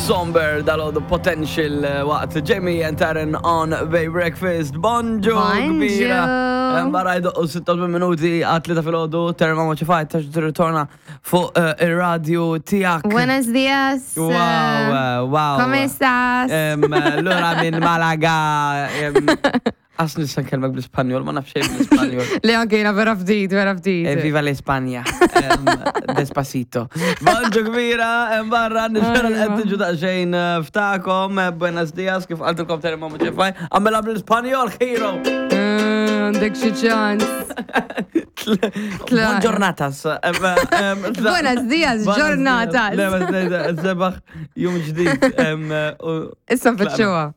Somber dal-għodu potential eh, waqt Jamie and Taryn on Bay Breakfast. Bonġu, kbira. Barra jdoqqu 86 minuti għat-tlieta fil-ħodu, Taryn Mama ċifajt, tax ritorna fuq eh, il-radio tijak. Buenos dias. Wow, eh, wow. Come estás? Lura minn Malaga. Għas nista' nkellmek bl-Ispanjol, ma nafx xejn bl-Ispanjol. Le anke jiena vera ftit, vera ftit. Eh, viva l-Ispanja. Despacito. Bonġu kbira, barra, nispera li qed tiġu daqsxejn eh, ftakom, eh, buenos dias, kif qaltilkom Terry Mama Ġefaj, għamela bl-Ispanjol, hero! Għandek xi ċans. Buongiornatas. Buenos dias, giornatas. Le, sebaħ jum ġdid. Issa nfittxuha.